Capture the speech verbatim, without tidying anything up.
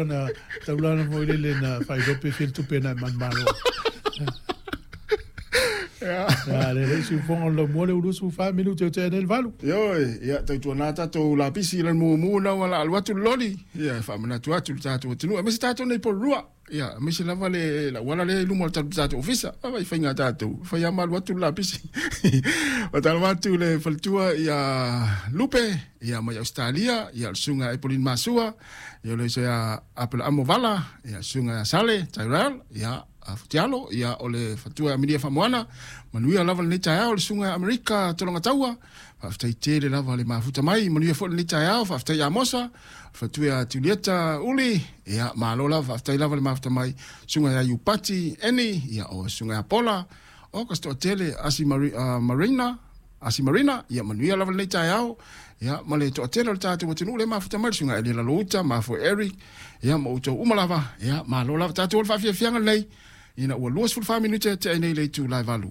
Na taulana foi lele na faailoa pe fia le tupe na e manumalo. Ia, le le isi ufoga o le laumua le ua luasefulu fa minute o tea nei le valu. Ioe, ia tautuana tatou lapisi i le mumu na ua la alu atu le loli. Ia e faamanatu atu le tatou atunuu aemaise tatou nei Porirua. Ia aemaise lava le lauala lea i luma o le tatou ofisa. Ava i faiga tatou, fai lava ma alu atu le lapisi. Faatalofa atu le faletua ia Lupe, ia mai Ausetalia, ia o le susuga ia Epolini Masua, ia o le uso ia Apelaamu Vala, ia susuga ia Sale Tyrell, ia Futialo, ia o le faletua ia Aminia Faamoana, manuia lava lenei taeao le susuga ia Amerika Tologataua, faafetai tele lava le mafuta mai, manuia foi lenei taeao, faafetai ia Mosa, faletua ia Julieta Uli, ia malo lava, faafetai lava le mafuta mai, susuga ia Iupati Eni, ia o susuga ia Pola, o ka se toatele Asi Mari, uh, Marina, Asi Marina, ia manuia lava lenei taeao, ia ma le toatele o le tatou atunuu le mafuta mai, le susuga Elia Lalouta, mafue Eric, ia ma outou uma lava, ia malo lava tatou o le faafiafiaga lenei, ina ua luasefulu fa minute tea nei le itula e valu.